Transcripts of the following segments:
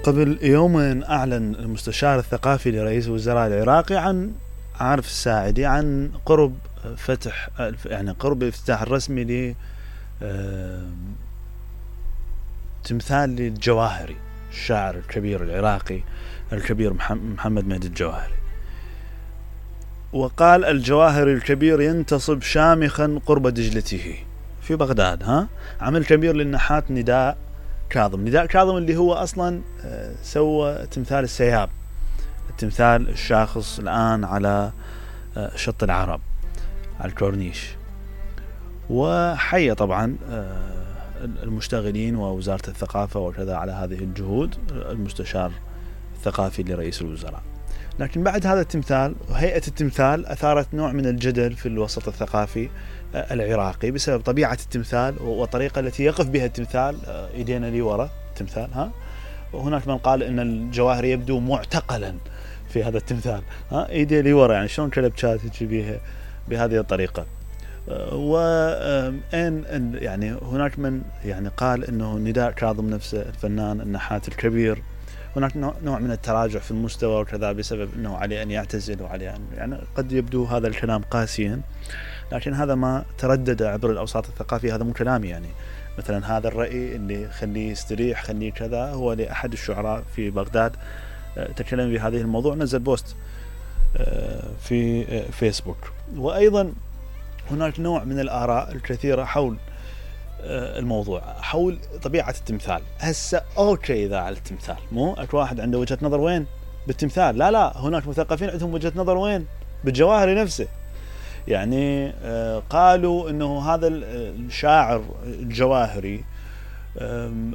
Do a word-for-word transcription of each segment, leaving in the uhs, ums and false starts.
قبل يومين أعلن المستشار الثقافي لرئيس الوزراء العراقي عن عارف الساعدي عن قرب فتح يعني قرب الافتتاح الرسمي ل تمثال للجواهري الشاعر الكبير العراقي الكبير محمد مهدي الجواهري. وقال الجواهري الكبير ينتصب شامخا قرب دجلته في بغداد. ها عمل كبير للنحات نداء كاظم. نداء كاظم اللي هو أصلا سوى تمثال السياب، التمثال الشاخص الآن على شط العرب على الكورنيش. وحيا طبعا المشتغلين ووزارة الثقافة وكذا على هذه الجهود، المستشار الثقافي لرئيس الوزراء. لكن بعد هذا التمثال وهيئة التمثال أثارت نوع من الجدل في الوسط الثقافي العراقي بسبب طبيعة التمثال والطريقة التي يقف بها التمثال إيدينا لي وراء التمثال. ها وهناك من قال إن الجواهري يبدو معتقلا في هذا التمثال. ها إيدي لي وراء يعني شلون كلبشات بها بهذه الطريقة. وإن يعني هناك من يعني قال إنه نداء كاظم نفسه الفنان النحات الكبير هناك نوع من التراجع في المستوى وكذا بسبب أنه عليه أن يعتزل وعليه أن يعني قد يبدو هذا الكلام قاسيا، لكن هذا ما تردد عبر الأوساط الثقافية. هذا مو كلامي يعني. مثلا هذا الرأي اللي خليه يستريح خليه كذا هو لأحد الشعراء في بغداد تكلم بهذه الموضوع، نزل بوست في فيسبوك. وأيضا هناك نوع من الآراء الكثيرة حول الموضوع، حول طبيعة التمثال. هسه أوكي إذا على التمثال مو أكو واحد عنده وجهة نظر وين بالتمثال، لا لا هناك مثقفين عندهم وجهة نظر وين بالجواهري نفسه. يعني قالوا إنه هذا الشاعر الجواهري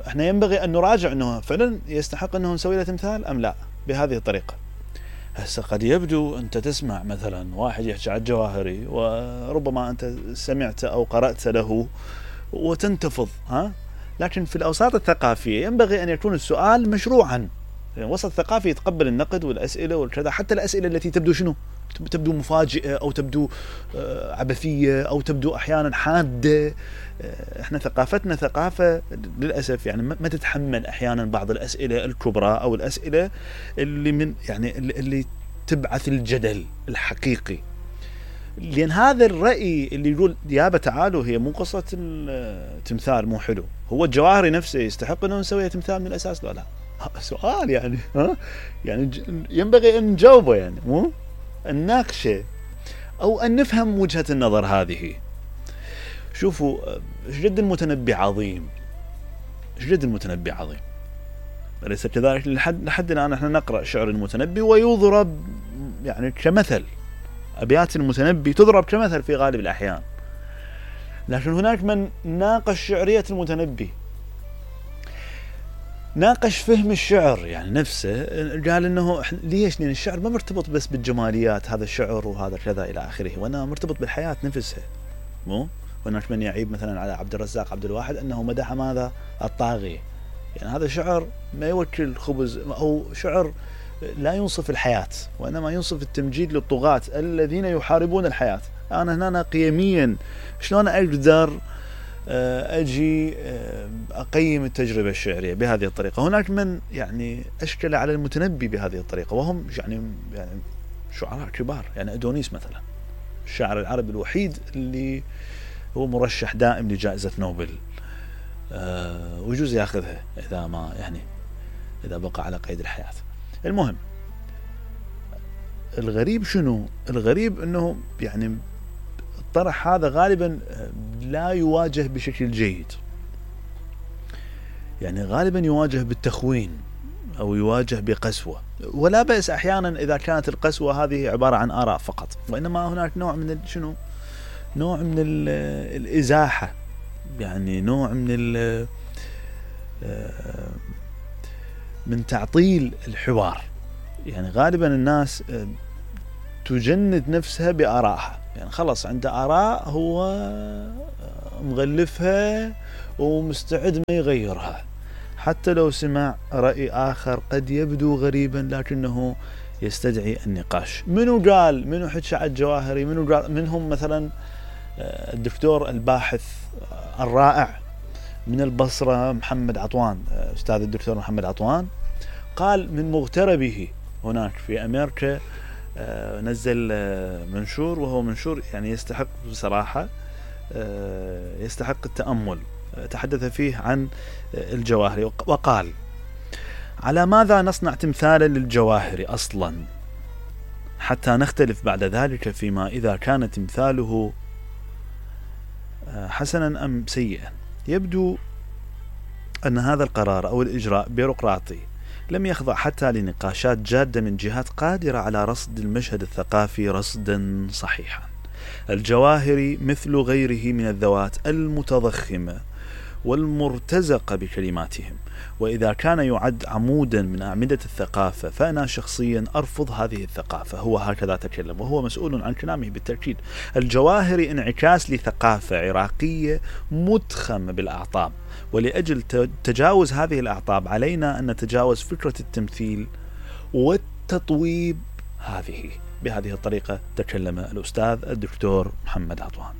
احنا ينبغي أن نراجع إنه فعلا يستحق إنه نسوي له تمثال أم لا بهذه الطريقة. هسه قد يبدو أنت تسمع مثلا واحد يحكي على الجواهري وربما أنت سمعت أو قرأت له وتنتفض، ها لكن في الأوساط الثقافية ينبغي أن يكون السؤال مشروعا. يعني وسط ثقافي يتقبل النقد والأسئلة والكذا، حتى الأسئلة التي تبدو شنو تبدو مفاجئة أو تبدو عبثية أو تبدو أحيانا حادة. احنا ثقافتنا ثقافة للأسف يعني ما تتحمل أحيانا بعض الأسئلة الكبرى أو الأسئلة اللي من يعني اللي تبعث الجدل الحقيقي. لأن هذا الرأي اللي يقول يابا تعالوا هي مو قصة التمثال مو حلو، هو الجواهري نفسه يستحق أنه نسويه تمثال من الأساس لا لا سؤال يعني ها يعني ينبغي أن نجاوبه يعني مو نناقشه أو أن نفهم وجهة النظر هذه. شوفوا جد المتنبي عظيم، جد المتنبي عظيم أليس كذلك؟ لحد لحد الآن احنا نقرأ شعر المتنبي ويضرب يعني كمثل، أبيات المتنبي تضرب كمثل في غالب الأحيان. لكن هناك من ناقش شعرية المتنبي، ناقش فهم الشعر يعني نفسه، قال إنه ليش؟ لأن الشعر ما مرتبط بس بالجماليات هذا الشعر وهذا كذا إلى آخره، وأنا مرتبط بالحياة نفسها مو. هناك من يعيب مثلا على عبد الرزاق عبد الواحد أنه مدح ماذا الطاغية، يعني هذا شعر ما يوكل خبز أو شعر لا ينصف الحياة وإنما ينصف التمجيد للطغاة الذين يحاربون الحياة. أنا هنا قيميا شلون أقدر أجي أقيم التجربة الشعرية بهذه الطريقة؟ هناك من يعني أشكل على المتنبي بهذه الطريقة وهم يعني يعني شعراء كبار، يعني أدونيس مثلا الشاعر العربي الوحيد اللي هو مرشح دائم لجائزة نوبل ويجوز يأخذها إذا ما يعني إذا بقى على قيد الحياة. المهم الغريب شنو؟ الغريب أنه يعني الطرح هذا غالبا لا يواجه بشكل جيد، يعني غالبا يواجه بالتخوين أو يواجه بقسوة، ولا بأس أحيانا إذا كانت القسوة هذه عبارة عن آراء فقط، وإنما هناك نوع من شنو نوع من الإزاحة، يعني نوع من من تعطيل الحوار. يعني غالبا الناس تجند نفسها بآرائها، يعني خلص عنده آراء هو مغلفها ومستعد ما يغيرها، حتى لو سمع رأي آخر قد يبدو غريبا لكنه يستدعي النقاش. منو قال؟ منو حكى على الجواهري؟ منو قال؟ منهم مثلا الدكتور الباحث الرائع من البصرة محمد عطوان، أستاذ الدكتور محمد عطوان، قال من مغتربه هناك في أمريكا نزل منشور، وهو منشور يعني يستحق بصراحة يستحق التأمل. تحدث فيه عن الجواهري وقال: على ماذا نصنع تمثالا للجواهري أصلا حتى نختلف بعد ذلك فيما إذا كان تمثاله حسنا أم سيئا؟ يبدو أن هذا القرار أو الإجراء بيروقراطي لم يخضع حتى لنقاشات جادة من جهات قادرة على رصد المشهد الثقافي رصدا صحيحا. الجواهري مثل غيره من الذوات المتضخمة والمرتزقة بكلماتهم، وإذا كان يعد عمودا من أعمدة الثقافة فأنا شخصيا أرفض هذه الثقافة. هو هكذا تكلم وهو مسؤول عن كلامه بالتأكيد. الجواهري انعكاس لثقافة عراقية متخمة بالأعطاب، ولأجل تجاوز هذه الأعطاب علينا أن نتجاوز فكرة التمثيل والتطويب هذه. بهذه الطريقة تكلم الأستاذ الدكتور محمد عطوان.